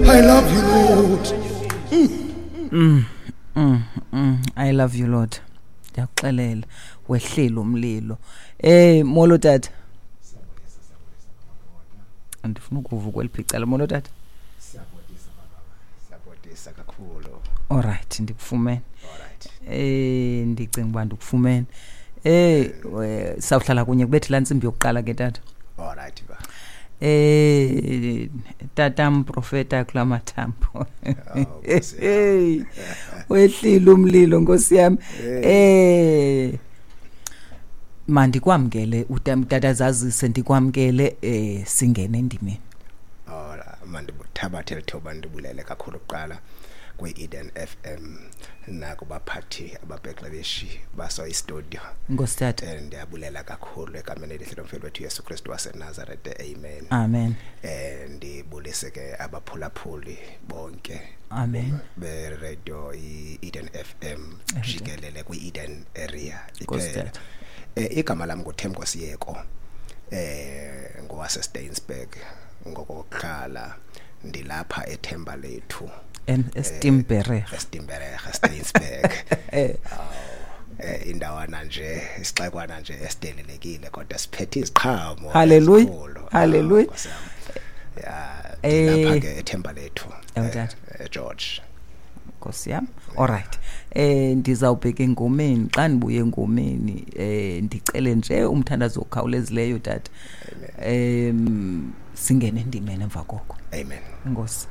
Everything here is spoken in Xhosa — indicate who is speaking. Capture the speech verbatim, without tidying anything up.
Speaker 1: I love you, Lord.
Speaker 2: Mm, mm, mm. I love you, Lord. Ndiyakuxelela, wehlile umlilo. Eh molo tata. Andifuna ukuva kweliphi icala. Molo tata.
Speaker 3: Siyabodisa baba. Siyabodisa kakhulu.
Speaker 2: Alright, ndikufumene.
Speaker 3: Alright.
Speaker 2: Eh ndicinga uba ndikufumene. Eh sawuhlala kunye kubethe laa ntsimbi yokuqala ke tata.
Speaker 3: Alright ba.
Speaker 2: Eh tata mprofeta kula mathambo. Hey, wehlile umlilo Nkosi yami. Eh mandikwamkele utata zazise ndikwamkele eh singene endimeni.
Speaker 3: Ora mandibuthabathe lithoba ndibulele kakhulu kuqala kwi-Eden F M nakubaphathi ababhexebeshi baso istudio.
Speaker 2: Nkosi tata.
Speaker 3: Ndiyabulela kakhulu egameni elihle lomfeli wethu Yesu Kristu waseNazareth. Amen.
Speaker 2: Amen.
Speaker 3: Eh ndibulise ke abaphulaphuli bonke.
Speaker 2: Amen.
Speaker 3: Be radio i-Eden F M jikelele kwi-Eden area iphela. Eh igama lami nguThemba Siyeko. Eh ngowase Steynsburg ngokokuqala ndilapha eThemba lethu.
Speaker 2: Estimberg.
Speaker 3: Estimberg, Steynsburg. Eh indawana nje isixekwana nje esidelelekile kodwa siphethe iziqhamo.
Speaker 2: Hallelujah. Hallelujah.
Speaker 3: Ya ndilapha ke eThemba lethu. George.
Speaker 2: Nkosi yami. Alright. Eh ndizawubheka engomeni, xa ndibuye engomeni eh ndicele nje umthandazo okhawulezileyo tata. Em singene endimeni emva koko.
Speaker 3: Amen.
Speaker 2: Nkosi.